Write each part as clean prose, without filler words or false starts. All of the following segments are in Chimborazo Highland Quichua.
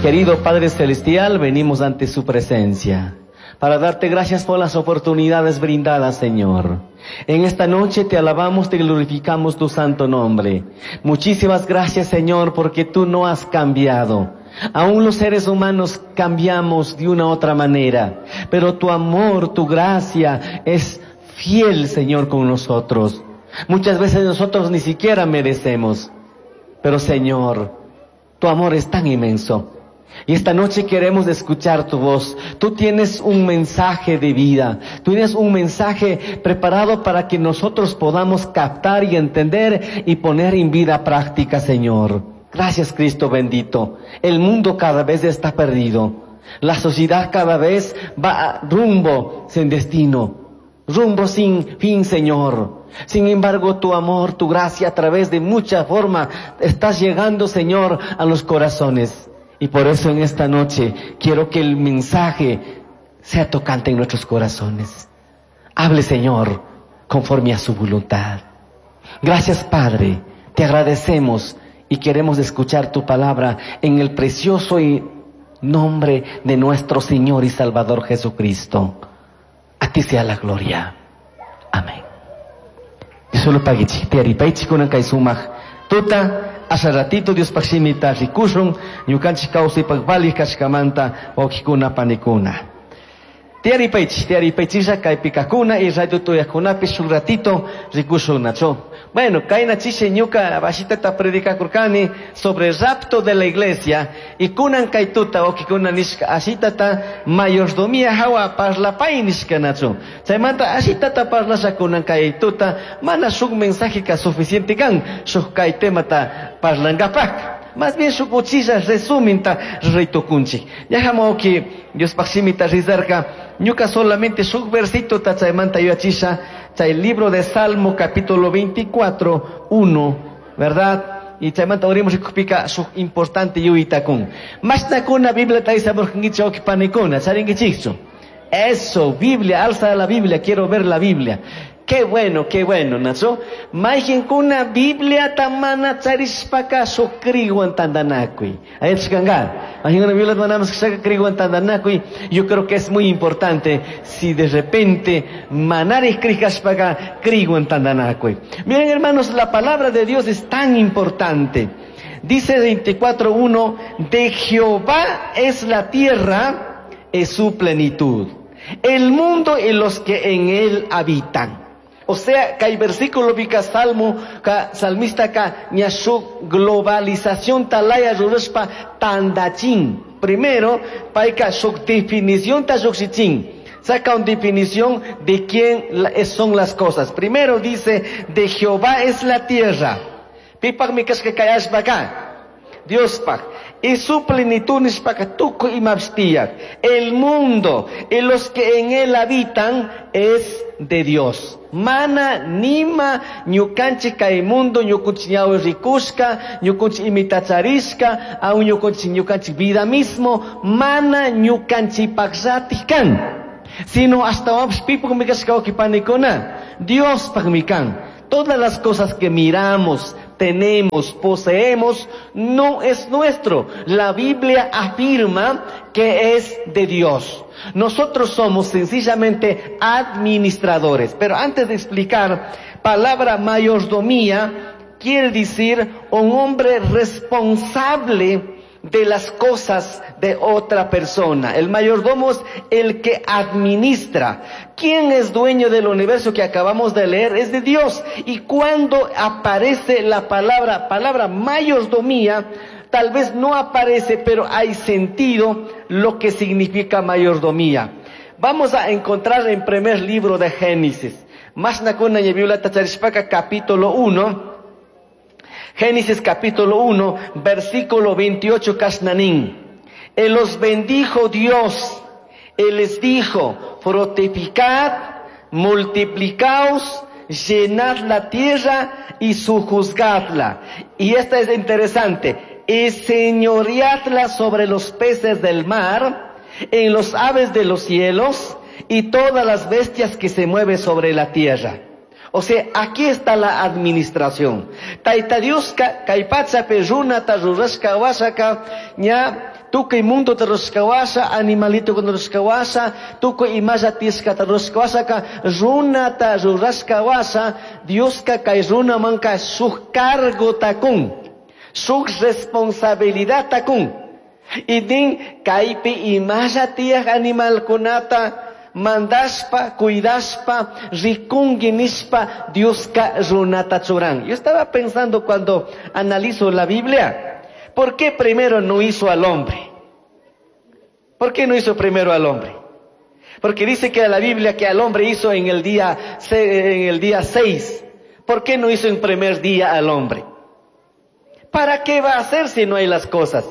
Querido Padre Celestial, venimos ante su presencia para darte gracias por las oportunidades brindadas, Señor. En esta noche te alabamos, te glorificamos tu santo nombre. Muchísimas gracias, Señor, porque tú no has cambiado. Aún los seres humanos cambiamos de una u otra manera, pero tu amor, tu gracia es fiel, Señor, con nosotros. Muchas veces nosotros ni siquiera merecemos, pero Señor, tu amor es tan inmenso. Y esta noche queremos escuchar tu voz. Tú tienes un mensaje de vida. Tú tienes un mensaje preparado para que nosotros podamos captar y entender y poner en vida práctica, Señor. Gracias, Cristo bendito. El mundo cada vez está perdido. La sociedad cada vez va rumbo sin destino, rumbo sin fin, Señor. Sin embargo, tu amor, tu gracia, a través de mucha forma, estás llegando, Señor, a los corazones. Y por eso en esta noche quiero que el mensaje sea tocante en nuestros corazones. Hable, Señor, conforme a su voluntad. Gracias, Padre. Te agradecemos y queremos escuchar tu palabra en el precioso nombre de nuestro Señor y Salvador Jesucristo. A ti sea la gloria. Amén. Solo tuta asha ratito Diospaj shimita rikushun ñukanchik kawsaypak valij kashkamanta wawqikuna panikuna. Tiyaripaychik, tiyaripaychiklla kaypi kajkuna y radio tuyajkunapish shuk ratito rikushun nachu. Bueno, kayna chishi ñuka bashitata predicakurkani sobre rapto de la iglesia y kunan kay tuta wawqikuna nishka ashitata mayordomía hawa parlapay nishka nachu. Chaymanta ashitata parlasha kunan kay tuta mana shuk mensaje ka suficiente kan shuk kay temata parlangapak. Más bien shuk uchilla resuminta ruraytukunchik. Ñaja wawqi Diospaj shimita rizarka ñuka solamente shuk versito ta chaymanta yuyachisha chay libro de Salmo capítulo 24, 1, ¿verdad? Y chaymanta orimos rikukpika shuk importante yuyaytakun. Mashnakuna Biblia taysamurkankichik wawqi panikuna, charinkichikchu. Eso, Biblia, alza la Biblia, quiero ver la Biblia. Qué bueno, Nacho. Mayqinkuna Biblia mana charishpaka shuk kriywan tantanakuy. Ayachkanga. Mayqinkuna Biblia mana kriywan tantanakuy. Yo creo que es muy importante si de repente manarij kriyashpaka kriywan tantanakuy. Miren, hermanos, la palabra de Dios es tan importante. Dice 24:1, de Jehová es la tierra, es su plenitud, el mundo y los que en él habitan. O sea, que hay versículo vika salmo, ka salmista ka ñashu globalización talaya rurashpa tandachin. Primero, paika su definición ta lluqshichin. Saca una definición de quién son las cosas. Primero dice, de Jehová es la tierra. Pipaj mi kashka kay allpa ka. Diospaj. Y su plenitud nishpaka tukuy imapish tiyak. El mundo y los que en él habitan es de Dios. Mana nima ñukanchik kay mundo ñukunchik ñawi rikushka, ñukunchik imita charishka, aún ñukunchik ñukanchik vida mismo, mana ñukanchikpaqllatik kan. Sino hasta pipukmi kashka wawqi panikuna, Diospaqmi kan. Todas las cosas que miramos, tenemos, poseemos, no es nuestro. La Biblia afirma que es de Dios. Nosotros somos sencillamente administradores. Pero antes de explicar, palabra mayordomía quiere decir un hombre responsable de las cosas de otra persona. El mayordomo es el que administra. ¿Quién es dueño del universo que acabamos de leer? Es de Dios. Y cuando aparece la palabra mayordomía, tal vez no aparece, pero hay sentido lo que significa mayordomía. Vamos a encontrar en primer libro de Génesis. Mashnakuna Biblia tacharishpaka capítulo 1. Génesis capítulo 1, versículo 28, Kashnanín. Él los bendijo Dios. Él les dijo, fructificad, multiplicaos, llenad la tierra y sojuzgadla. Y esta es interesante. Y señoreadla sobre los peces del mar, en los aves de los cielos y todas las bestias que se mueven sobre la tierra. O sea, aquí está la administración. Taita Dioska, kay pachapi runata rurashka washaka, ña Tukuy mundota rurashkawasha, animalitokuna rurashkawasha, tukuy imalla tiyashkata rurashkawashaka, runata rurashkawasha, Dioska kay runamanka shuk cargota kun, shuk responsabilidadta kun. Y nin kaypi imalla tiyaj animalkunata mandashpa, cuidashpa, rikungi nishpa, Dioska runata churan. Yo estaba pensando cuando analizo la Biblia, ¿por qué primero no hizo al hombre? ¿Por qué no hizo primero al hombre? Porque dice que la Biblia que al hombre hizo en el día 6. ¿Por qué no hizo en primer día al hombre? ¿Para qué va a hacer si no hay las cosas?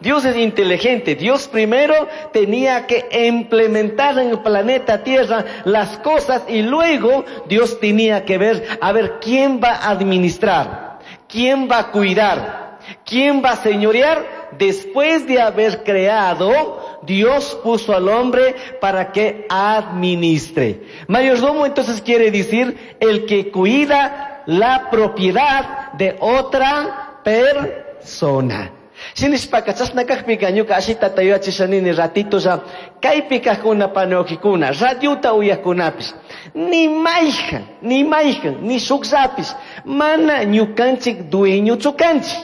Dios es inteligente. Dios primero tenía que implementar en el planeta Tierra las cosas y luego Dios tenía que ver, a ver, quién va a administrar, quién va a cuidar, quién va a señorear. Después de haber creado, Dios puso al hombre para que administre. Mayordomo entonces quiere decir el que cuida la propiedad de otra persona. Shinishpaka chashna kajpika ñuka ashitata yuyachishanini ratitolla kaypi kajkuna panawkikuna radiota uyajkunapish ni mayjan ni mayjan ni shukllapish mana ñukanchik dueñochu kanchik,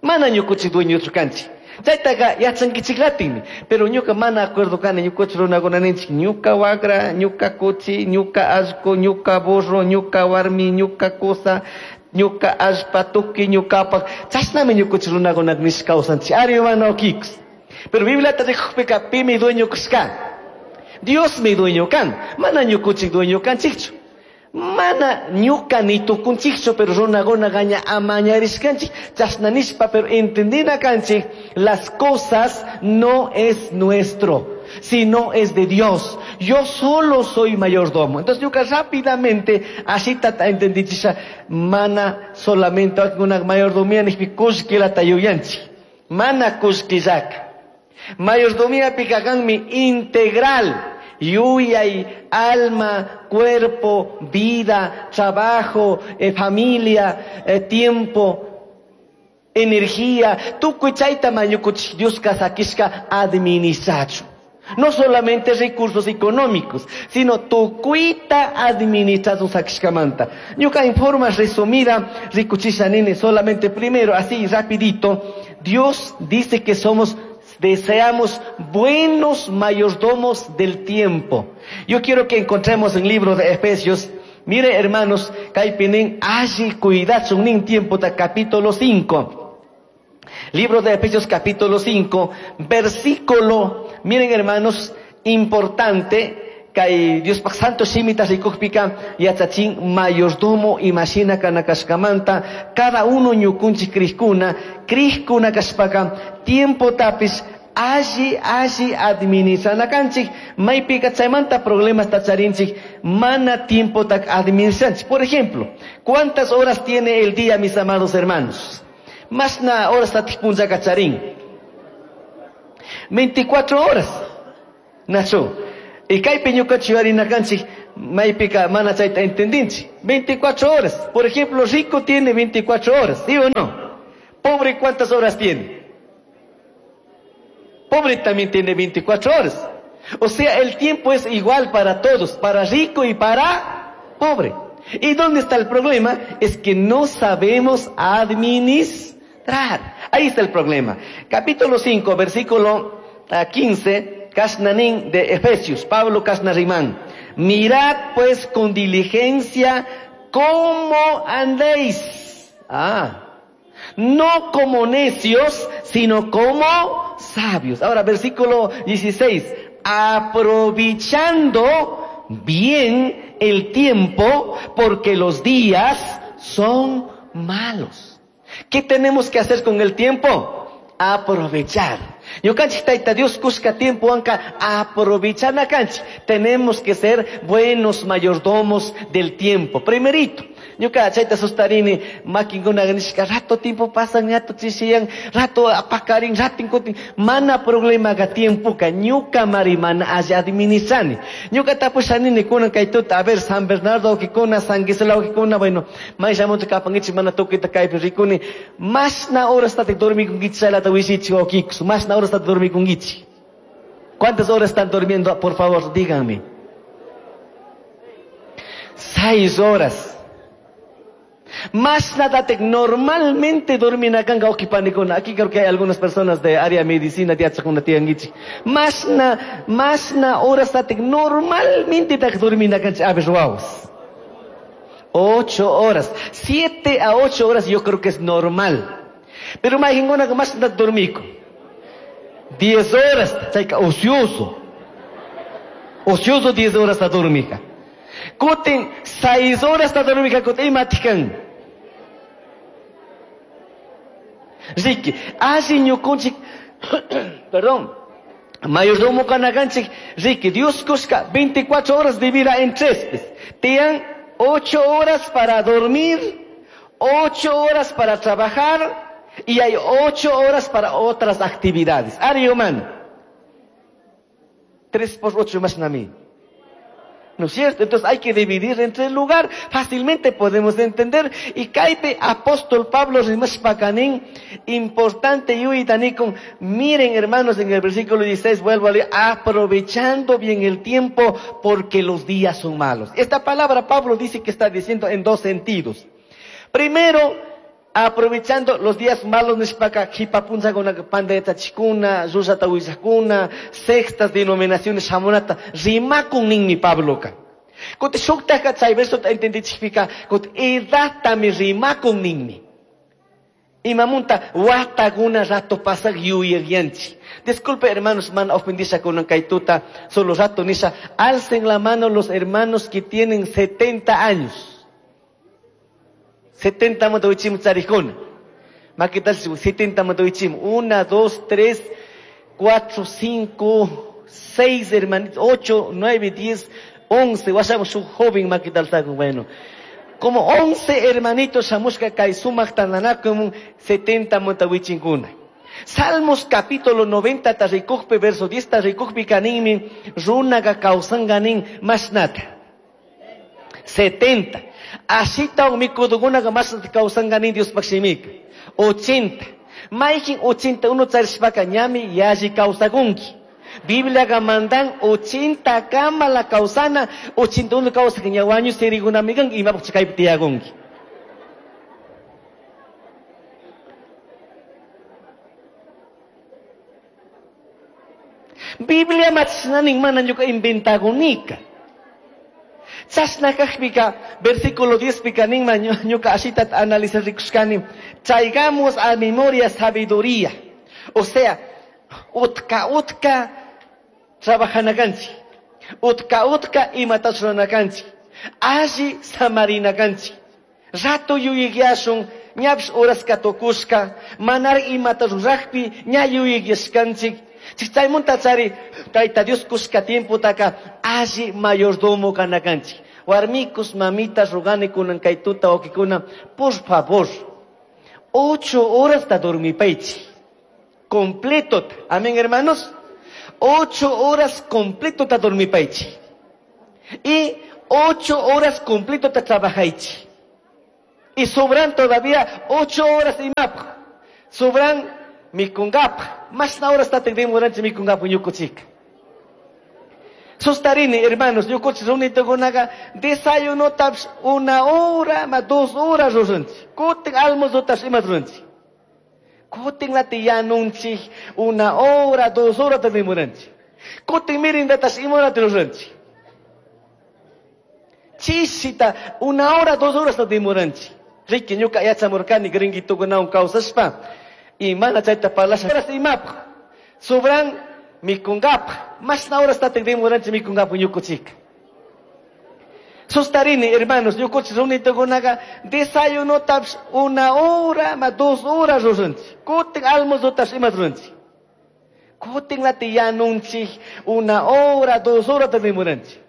mana ñukuchik dueñochu kanchik. Chaytaqa yachankichiklatinmi, pero ñuka mana acuerdo kani ñukuchik runakuna ninchik ñuka wagra, ñuka kuchi, ñuka allqu, ñuka burro, ñuka warmi, ñuka kusa, ñuka allpa, tuki ñukapaq, chashnami ñukuchik runakuna nishka kawsanchik, ari mana ukikus. Pero Bibliata rikukpika pimi dueño kashka, Diosmi dueño kan, mana ñukuchik dueño kanchikchu. Mana ñuka ni tukunchikchu, pero runakuna gaña amañarishkanchik, chashna nishpa, pero entendina kanchik, las cosas no es nuestro, sino es de Dios. Yo solo soy mayordomo. Entonces ñuka rápidamente así tata entendichisha, mana solamente una mayordomía nishpi kullkilata yuyanchik, mana kullkillaka. Mayordomía pikakanmi integral. Yuyay, alma, cuerpo, vida, trabajo, familia, tiempo, energía. Tukuy chayta mañukuchik Dioska sakishka administrachu. No solamente recursos económicos, sino tukuyta administrachu sakishkamanta. Ñuka en forma resumida, rikuchisha nini, solamente primero, así rapidito, Dios dice que somos deseamos buenos mayordomos del tiempo. Yo quiero que encontremos en el libro de Efesios. Mire, hermanos, kaypinin alli cuidachun nin tiempo ta capítulo 5. Libro de Efesios capítulo 5, versículo, miren hermanos, importante, kay Dios pak santo shimita rikukpika yachachin mayordomo imashina kanakashkamanta cada uno ñukunchik krishkuna krishkuna kashpaka tiempo tapis alli alli administranakanchik maypika chaymanta problemas tacharinchik mana tiempo tak administranchik. Por ejemplo, ¿cuántas horas tiene el día, mis amados hermanos? Masna horas tatik punllaka charin 24 horas. Nacho. Y kaypi ñukanchik yuyarinakanchik maypika mana chayta entendinchik. 24 horas. Por ejemplo, rico tiene 24 horas, ¿sí o no? Pobre, ¿cuántas horas tiene? Pobre también tiene 24 horas. O sea, el tiempo es igual para todos, para rico y para pobre. ¿Y dónde está el problema? Es que no sabemos administrar. Ahí está el problema. Capítulo 5, versículo 15. Kasnanín de Efesios, Pablo Kasnarimán. Mirad pues con diligencia cómo andéis. Ah, no como necios, sino como sabios. Ahora, versículo 16. Aprovechando bien el tiempo, porque los días son malos. ¿Qué tenemos que hacer con el tiempo? Aprovechar. Ñukanchik tayta Dios kushka tiempo anka aprovechana kanchik. Tenemos que ser buenos mayordomos del tiempo. Primerito, Ñuka chayta sustarini makinkuna nishka rato tiempo pasan ñato chishiyan rato pakarin ratin kutin mana problemaga tiempoka ñuka mari mana alli administrani. Ñuka tapushanini kunan kay tuta a ver San Bernardo wawkikuna San Gisela wawkikuna bueno mayllamunta kapankichik mana tukuyta kaypi rikuni mashna horastatik dormikunkichik chaylata willichik wawkikus mashna horastatik dormikunkichik. ¿Cuántas horas están durmiendo? Por favor, díganme. 6 horas. Más nada normalmente dorminakanka wawqipanikuna. Aquí creo que hay algunas personas de área medicina yachaqkuna tiyankichik. Mashna horas tatik normalmente tak dorminakanchik a ver wawas. 8 horas. 7 a 8 horas yo creo que es normal. Pero mayqinkunaka más nada dormiku. 10 horas, chayka ocioso. Ocioso 10 horas ta dormika. Kutin 6 horas ta dormika kutin imatikan. Riki, alli ñukunchik, perdón, mayordomo kanakanchik, Riki, Dios kushka 24 horas divida en 3. Tiyan 8 horas para dormir, 8 horas para trabajar, y hay 8 horas para otras actividades. Ari humano. 3 por 8 más nami. ¿No es cierto? Entonces hay que dividir entre el lugar. Fácilmente podemos entender. Y kaypi apóstol Pablo rimashpakanin, importante yuytanikun. Miren hermanos, en el versículo 16 vuelvo a leer, aprovechando bien el tiempo porque los días son malos. Esta palabra Pablo dice que está diciendo en dos sentidos. Primero, aprovechando los días malos nishpaka jipapunchakuna pandayachachikuna, llullata willakuna, sextas denominaciones shamunata rimakun ninmi Pabloka. Kuti shuktaka chay versota entendichikpika, kuti edatami rimakun ninmi. Imamunta watakuna rato pasak yuyagyanchi. Disculpe hermanos, mana ofendisha kunan kay tuta, solo rato nisha, alcen la mano los hermanos que tienen 70 años. 70 manta wichimu charijkuna. Makital 70 manta wichimu. 1, 2, 3, 4, 5, 6 hermanitos, 8, 9, 10, 11. Washamu shu joven makital sakun, bueno. Como 11 hermanitos shamushka kay sumaq tandanakumun 70 manta wichinkuna. Salmos capítulo 90 tarikukpi, verso 10 tarikukpi kaninmi, runaga kawsanganin mashnata. 70. Ashita mikudukunaqa mas kawsanganin Diospaq shimika. 80. Mayqin 81 charishpaka ñami yalli kawsakunki. Bibliaqa mandan 80 kama la kawsana, 81 kawsaq ña wañu sirikunami kanki imapaq chaypi tiyakunki. Biblia machnanin mana ñuka inventakunika. Chashna kajpika, versículo 10 pika ninma ñuka ashita analizar rikushkani, traigamos a memoria sabiduría. O sea, utka utka trabajanakanchik, utka utka imata ruranakanchik, alli samarinakanchik. Rato yuyikyashun, ñapish horaska tukushka, manar imata rurajpi ña yuyikyashkanchik. Chaymunta chari, Tayta Dios kushka tiempotaka alli mayordomo kanakanchik. Warmikus, mamitas, rugani kunan kay tuta wawqikuna, por favor, 8 horas ta dormipaychik. Completo. Amén, hermanos. 8 horas completo ta dormipaychik. Y 8 horas completo ta trabajaychik. Y sobran todavía 8 horas y más. Sobran mikungapa. Más na horas ta demoranchik mikungapa ñukuchika. Sustarini, hermanos, ñukuchik runitukunaqa desayunotapish 1 hora, ma 2 horas ruranchik. Kutin almuerzotapish ima ruranchik. Kutin lati yanunchik 1 hora, 2 horas ta demoranchik. Kutin merendatash ima horata ruranchik. Chishita 1 hora, 2 horas ta demoranchik. Riki ñuka yachamurkani gringuitukunawan kawsashpa. Y mana chayta parlasha imapaq. Sobran mikungapa. Mashna horas ta demoranchik mikungapa ñukuchika. Sustarini, hermanos, ñukuchik runitukunaqa desayunotapish 1 hora, ma 2 horas ruranchik. Kutin almuerzotapish ima ruranchik. Kutin lati yanunchik 1 hora, 2 horas ta demoranchik.